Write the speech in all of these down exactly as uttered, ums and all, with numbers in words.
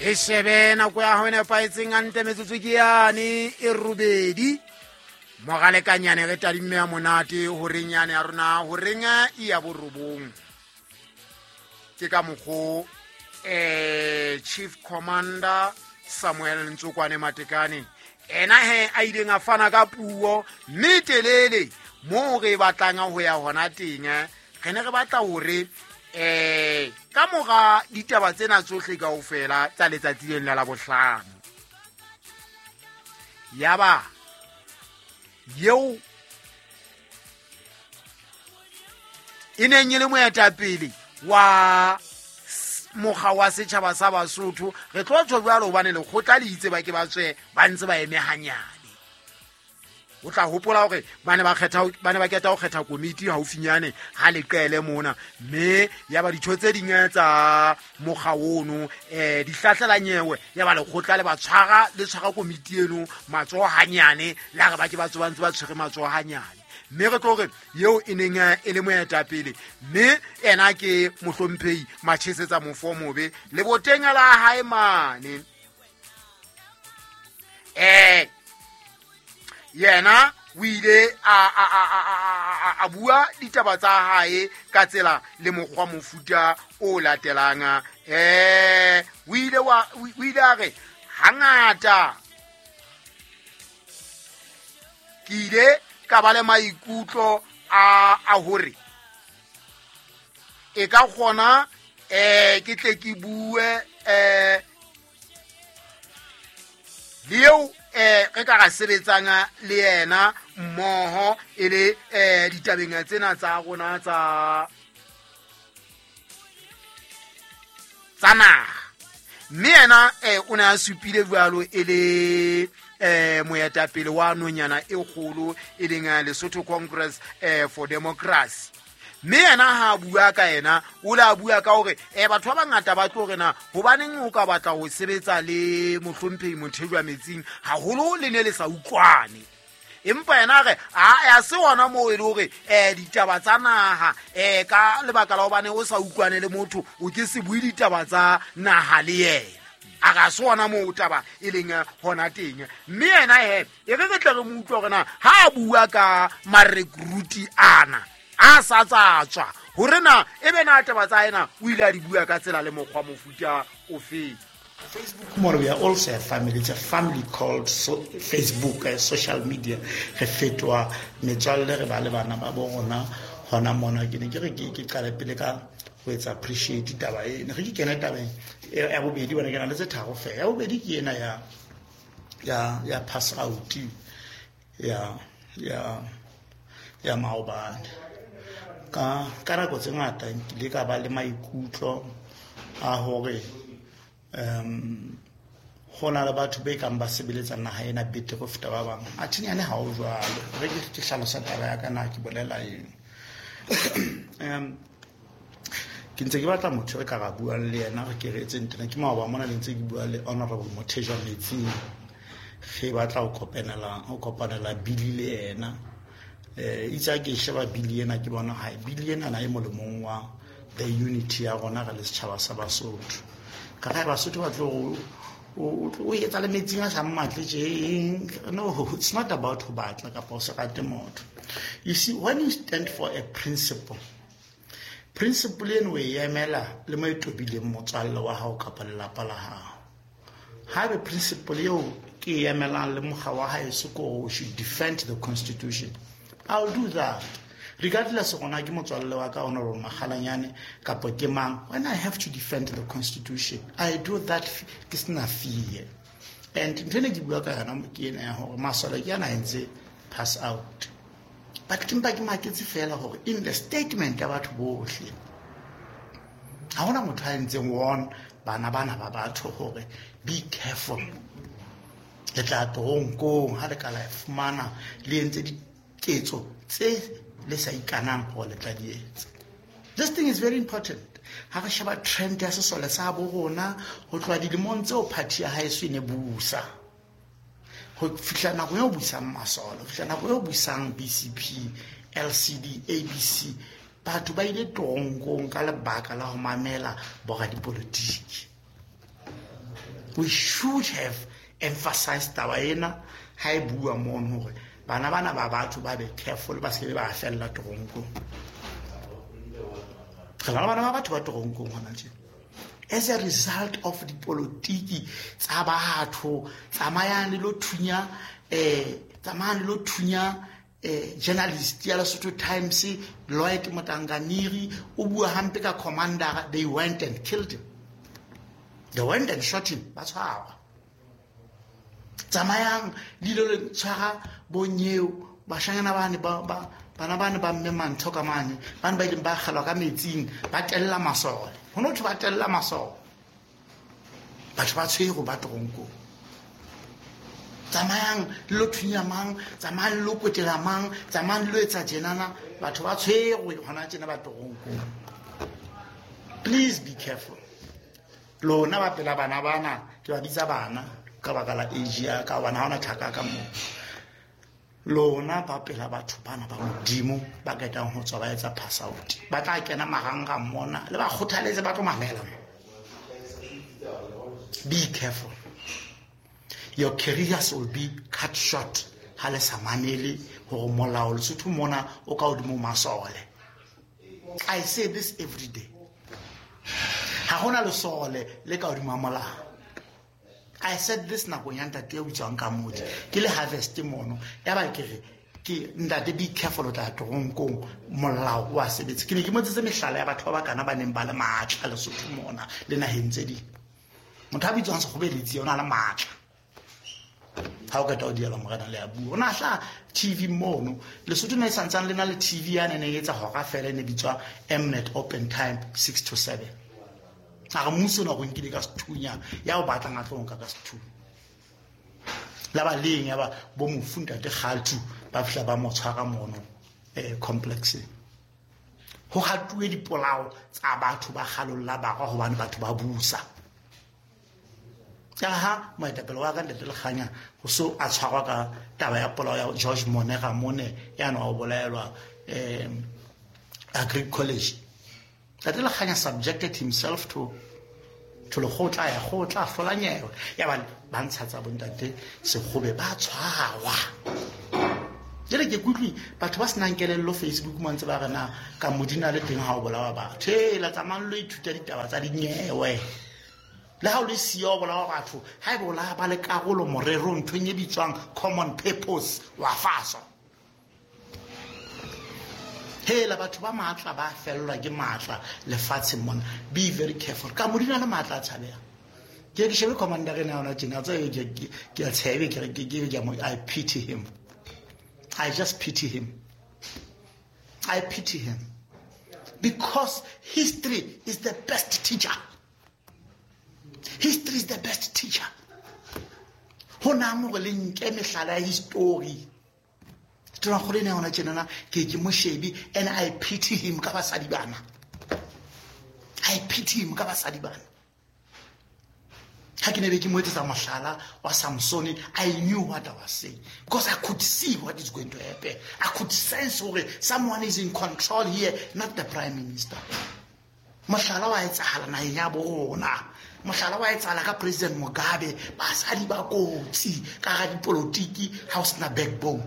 E shebe nako ya hao e nepahetseng hantle metsotso ke yane e robedi. Moralekanyane re tadimme ya monate horeng yane ya rona horeng e ya borobong. Ke ka mokgo eh Chief Commander Samuel Ntsokwane Matekane ena he a ileng a fana ka puo mme telele moo re batlang ho ya hona teng. Re ne re batla hore eh ka mora ditaba tsena tsohle kaofela tsa letsatsi lena la bohlano yaba eo e neng e le moetapele wa mokga wa setjhaba sa Basotho re tlo tjho jwalo hobane lekgotla le itse ba ke ba tswe ba ntse ba eme hanyane. O tla hopola hore ba ne ba kgetha ba ne ba keta ho kgetha komiti haufinyane ha leqele mona mme ya ba ditho tse ding tsa mokga ono eh di hlahlela nyewe ya ba lekgotla le ba tshwara le tshwara komiti eno matsoho hanyane la re ba ke ba tswe ba ntse ba tshwere matsoho hanyane. Mme re tlo re eo e neng e le moetapele mme ena ke mohlomphehi Machesetsa Mofomobe le boteng la hae mane eh yena o ile a a a a bua ditaba tsa hae ka tsela le mokgwa mofuta o latelang. Eh o ile wa o ile a re hangata ke ile ka ba le maikutlo a a hore e ka kgona eh ke tle ke bue eh le eo eh re ka ra sebetsang le yena mmoho e le eh ditabeng tsena tsa rona tsa tsa naha. Mme yena eh o ne a supile jwalo e le eh moetapele wa nonyana e kgolo e leng Lesotho Congress eh for Democracy. Mme yena ha bua ka yena o la bua ka hore eh batho ba bangata ba tlo re na hobaneng o ka batla ho sebetsa le mohlomphehi Mothejwa Metsing haholo le ne le sa utlwane. Empa yena re a ya se wona moo e le hore eh ditaba tsa naha eh ka lebaka la hobane o sa utlwane le motho o ke se bue ditaba tsa naha le yena. A ga se wona moo taba e leng hona teng. Mme yena he e re re tle re mo utlwe hore na ha a bua ka marekruti ana a sa tsatswa hore na ebe na taba tsa ena o ile a di bua ka tsela le mokgwa mofuta ofe. Facebook more, we are also a family. It's a family called so, Facebook, uh, social media. Re fetoha metswalle re ba le bana ba bo rona hona mona. Ke ne ke re ke ke qale pele ka ho etsa appreciate taba ena. Re ke kena tabeng ya bobedi bona ke na le tse tharo feela. Ya bobedi ke ena ya ya ya pass out ya ya ya maobane. Ka ka nako tse ngata nkile ka ba le maikutlo a hore um ho na le batho ba kang ba sebeletsa naha ena betere ho feta ba bang. Athe nyane ha ho jwalo. Re ke ke hlalosa taba ya ka na ke bolela eng. Um ke ntse ke batla motho re ka ra buang le yena re ke re etse ntena ke maoba mona le ntse ke bua le Honorable Mothejwa Metsing. Re batla ho kopanela ho kopanela bili le yena. Eh itse ke sheba bili ena ke bona ha bili ena na e molemong wa the unity ya rona re le setjhaba sa Basotho. Ka ga Basotho ba tlo o o etsa le metsing a sa mmatle tje. No, it's not about ho batla kapa ho se rate motho. You see, when you stand for a principle, principle eno e emela le mo e tobileng motswalle wa hao kapa lelapa la hao. Haebe principle eo ke e emelang le mokga wa haeso ke hore we should defend the constitution, I'll do that. Regardless rona ke motswalle wa ka Honorable Makgalanyane kapa ke mang, when I have to defend the constitution, I do that ke sena fear. And ntho ena ke bua ka yona ke ena ya hore masole ke ana a entse pass out. But ke mpa ke maketse fela hore in the statement ya batho bohle ha hona motho a entseng warn bana bana ba batho hore be careful, le tla toronkong ha le ka la e fumana le entse diketso tse le sa ikanang hore le tla di etsa. This thing is very important. Ha re sheba trend ya sesole sa bo rona ho tloha dilemong tseo party ya haeso e ne busa ho fihla nako eo busang masole, ho fihla nako eo busang B C P, L C D, A B C, batho ba ile toronkong ka lebaka la ho mamela boradipolotiki. We should have emphasized taba ena ha e bua mono hore bana bana ba batho ba be careful, ba se ba fella toronkong. Re bana ba batho ba toronkong hona tje. As a result of dipolotiki tsa batho, tsamayang le lo thunya eh tsamayang le lo thunya eh journalist ya Lesotho Times Lloyd Motanganiri o bua hampe ka commander, they went and killed him. They went and shot him. Ba tshwarwa. Tsamayang le lo tshwara bonyeo bashanyana bane ba ba bana bane ba mme mantho ka mane bane ba ileng ba kgelwa ka metsing ba tella masole. Ho no thwe ba tella masole. Batho ba tshwere ba toronkong. Tsamayang le lo thunya mang, tsamayang le lo kwetela mang, tsamayang le lo etsa tjenana, batho ba tshwerwe hona tjena ba toronkong. Please be careful. Lona ba pela bana bana, ke ba bitsa bana ka baka la age ya ka bana ha ona thaka ka moo. Lona ba pela batho bana ba modimo ba ketang ho tswa ba etsa pass out. Ba tla kena marangrang mona le ba kgothaletse ba tlo mamela. Be careful. Your careers will be cut short. Ha le sa mamele hore molao Lesotho mona o ka hodimo masole. I say this every day. Ha hona lesole le ka hodimo molao. I said this nakong ya ntate ya bitswang ka modi. Ke le harvest mono. Ya ba ke re ke ntate be careful o tla toronkong molao wa sebetsa. Ke ne ke motsetse mehlala ya batho ba ba kana ba neng ba le matla Lesotho mona le naheng tse ding. Motho a bitswang Sekgobeletsi o na le matla. Ha o qeta o diela morena le a bua. O na hla T V mono. Lesotho ne santsane le na le T V ya ne ne etsa hora fela e ne bitswa Mnet Open Time six to seven. A re mmuso na go nkile ka sethunya ya o batlang a tlo nka ka sethunya. La ba leng ya ba bo mofu ntate Kgaltu ba fihla ba mo tshwara mono eh complex. Ho hatuwe dipolao tsa batho ba kgalolla barwa hobane batho ba busa. Ka ha moetapele wa ka ntate Lekganya ho so a tshwarwa ka taba ya polao ya George Monega mone ya no o bolaelwa eh Agri College. Ntate Lekganya subjected himself to to lekgotla ya kgotla hlola nyewe ya ba ba ntsha tsa bontate Sekgobe ba tshwarwa. Jele ke kutlwi batho ba senang kelello Facebook mo ntse ba re na ka modina le teng ha o bolawa batho. Hela tsamayang lo ithuta ditaba tsa dinyewe. Le ha o le siyo bolawa batho, ha e bola ba le karolo morerong nthong e bitswang common purpose wa faso. Hela batho ba matla ba fellwa ke matla lefatsheng mona. Be very careful. Ka modina le matla a tshabeha. Ke ke shebe commander ena yona tjena tsa ke ke a tshebe ke re ke ke I pity him. I just pity him. I pity him. Because history is the best teacher. History is the best teacher. Ho na mo le nke mehlala ya history. Tona gore ne ona tjenana ke ke moshebi and I pity him ka basadi bana. I pity him ka basadi bana. Ha ke ne be ke mo etsetsa mohlala wa Samsoni, I knew what I was saying because I could see what is going to happen. I could sense hore someone is in control here, not the prime minister. Mohlala wa etsahala naheng ya bo rona. Mohlala wa etsahala ka President Mugabe, basadi ba kotsi ka ga dipolotiki ha o sena backbone.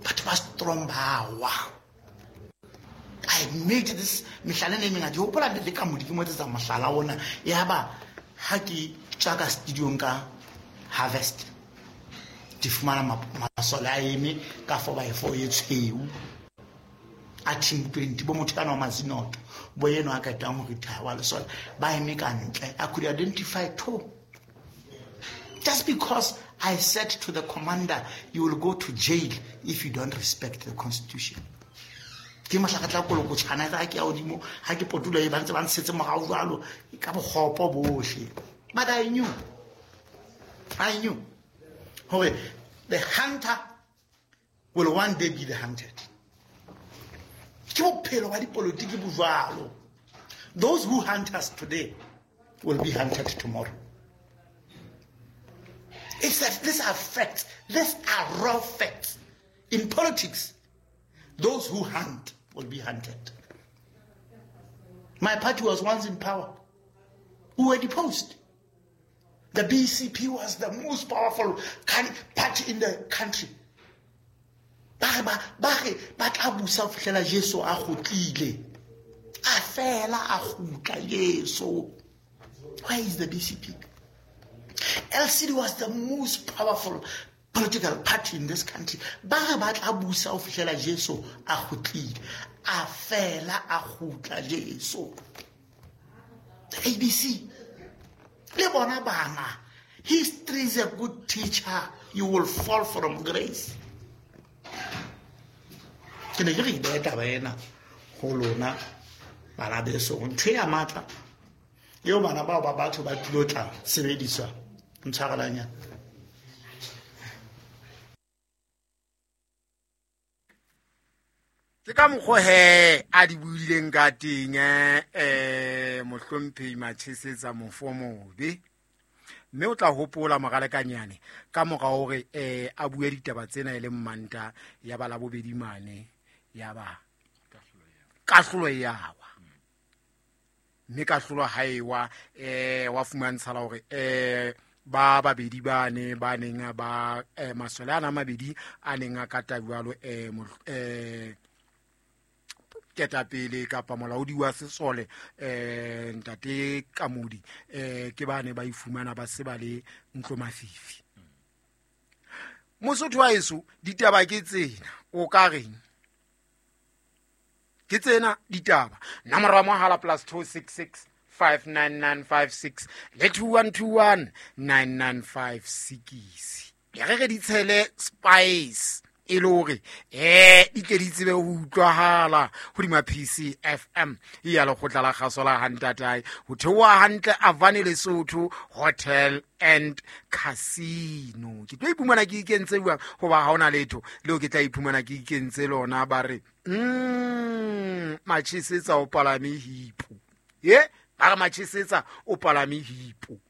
Batho ba strong ba wa. I made this mehlala e mengata. Ke hopola le ka modi ke mo etsetsa mohlala ona. Ya ba ha ke tswa ka studio ka harvest. Ke fumana masole a eme ka four by four e tshweu. A team twenty bo motho kana wa Mazinoto bo yeno a ketang ho retire wa lesole ba eme ka ntle. I could identify two. Just because I said to the commander, you will go to jail if you don't respect the constitution. Ke mohla ka tla koloko tshana ka ke ya hodimo ha ke potula e ba ntse ba ntshetse morao jwalo ka bokgopo bohle. But I knew. I knew. Hore the hunter will one day be the hunted. Ke bophelo ba dipolotiki bo jwalo. Those who hunt us today will be hunted tomorrow. It's a, these are facts. These are raw facts. In politics, those who hunt will be hunted. My party was once in power. We were deposed. The B C P was the most powerful party in the country. Ba re ba ba re ba tla busa ho fihlela Jesu a kgutlile. A fela a kgutla Jesu. Where is the B C P? L C D was the most powerful political party in this country. Ba re ba tla busa ho fihlela Jesu a kgutlile. A fela a kgutla Jesu. The A B C. Le bona bana. History is a good teacher. You will fall from grace. Ke ne ke re beha taba ena ho lona bana beso, ntho ya matla eo bana bao ba batho ba tlilo tla sebediswa ntshwarelanyana. Ke ka mokgwa he a di buileng ka teng eh mohlomphehi Machesetsa Mofomobe, mme o tla hopola moralekanyane ka mora hore eh a bue ditaba tsena e le Mmanta ya ba labobedi mane ya ba kahlolo ya wa, mme kahlolo ha e wa eh wa fumantshala hore eh ba babedi ba ne ba neng ba eh, masole ana mabedi a neng a kata jwalo eh eh ketapele kapa molaodi wa sesole eh ntate Kamodi eh ke bane ba ifumana ba se ba le ntlo mafifi. Mosotho wa heso, ditaba ke tsena, o ka reng? Ke tsena ditaba. Nomoro ya mohala plus two six six five nine nine five six le two one two one nine nine five six. Ya re re di tshele spice e le hore eh di tle di tsebe ho utlwahala hodima P C F M ya lekgotla la kgaso la Hantatae ho theoha hantle Avane Lesotho Hotel and Casino. Ke tlo iphumana ke ikentse jwang hoba ha hona letho leo ke tla iphumana ke ikentse lona ba re mm Machesetsa o palame hipo. Ye ba re Machesetsa o palame hipo.